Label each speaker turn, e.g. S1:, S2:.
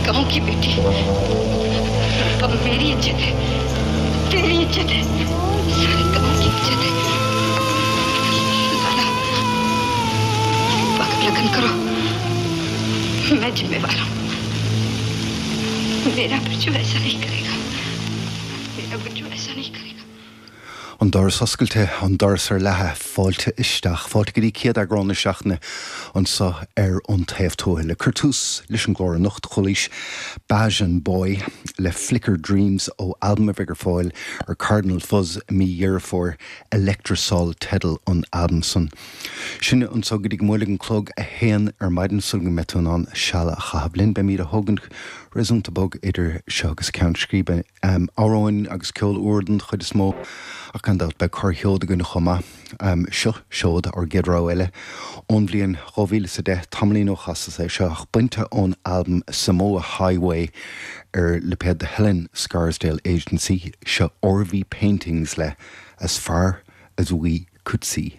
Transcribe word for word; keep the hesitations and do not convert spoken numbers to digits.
S1: गांव की बेटी रूपा मेरी इज्जत है तेरी इज्जत है सारे गांव की इज्जत है लाला रूपा का लगन करो मैं जिम्मेवार हूँ मेरा बिरजू ऐसा नहीं करेगा मेरा बिरजू ऐसा नहीं करेगा
S2: An doras oscailte an doras ar leathadh fáilte isteach fáilte go dtí céad eagrán na seachtaine anseo ar An Taobh Tuaithe le cur tús leis an gclár anocht chualaís Bajan Boy le Flicker Dreams ó albam a bheidh ar fáil ar Cardinal Fuzz mí Dheireadh Fómhair Electrosol teideal an albam san. Sinne anseo go dtí go mbuailfidh an clog a haon ar maidin sul go mbeidh tú in ann seal a chaitheamh linn beimid á thógaint réasúnta bog idir seo agus ceann scríbe um, amhráin agus ceol úr den chuid is mó ach gan dabht beidh corrsheoid againn chomh maith. Um, seo seod ár gcéad rogha eile ón bhliain dhá mhíle is a deich tamaillín ó chastas é seo ach bainte ón albam Samoa Highway ar lipéad The Helen Scarsdale Agency seo RV Paintings le as far as we could see.